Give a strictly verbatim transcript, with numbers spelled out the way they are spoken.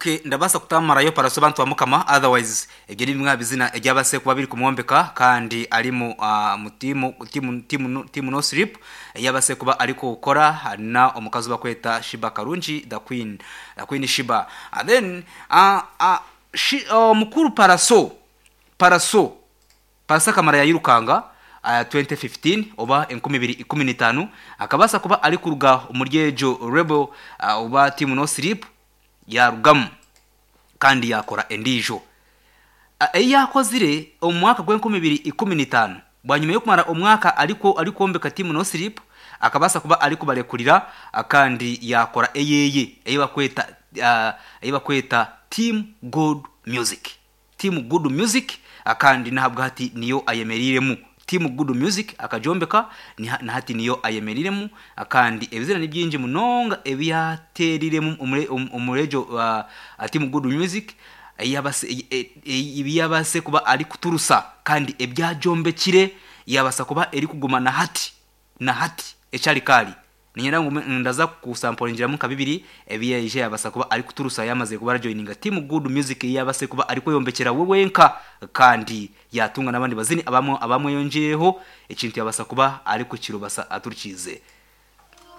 Okay, ndabasa kutamarayo Pallaso, bantu bamukama. Otherwise ebyo ni bimwe aha bizina ebyabase kuba biri kumwombeka, kandi arimu uh, mu timu timu timu timu No Sleep eyabase kuba ari kukora na omukazi bakweta Sheebah Karungi, the queen the queen Sheebah. And then uh, uh, shi, uh, mukuru Pallaso Pallaso Pallaso akamara yayirukanga uh, twenty fifteen oba enkumi ibiri ikumi n'itaano, akabasa kuba ari kuruga omuri egyo label uh, oba team No Sleep, yarugamu kandi yakora endiijo eyi yakozire omu mwaka gw'enkumi ibiri ikumi n'itaano. Bwanyuma y'okumara omwaka ariko arikwombeka team No Sleep, akabasa kuba ari kubarekurira, kandi yakora eyeye eyi bakweta uh, eyi bakweta Team Good Music, Team Good Music. Kandi nahabwa hati niyo ayemeriremu Team Good Music, akajombeka na hati niyo ayemeriremu. Kandi ebizina ni byingi munonga ebiyateriremu omurejo uh, Team Good Music, ebiyabase kuba ari kuturusa kandi ebyajombekire, yabasa kuba eri kuguma na hati na hati ekyari kari. Ninyenda ngu ndaza kusamporingiramu nka bibiri ebiyaije yabasa kuba ari kuturusa yamaze kuba arajoininga Team Good Music, yabase kuba ari kweyombekera we wenka, kandi yatunga n'abandi bazini abamwe abamweyongeyeho. Ekintu yabasa kuba ari kukirubasa aturikize.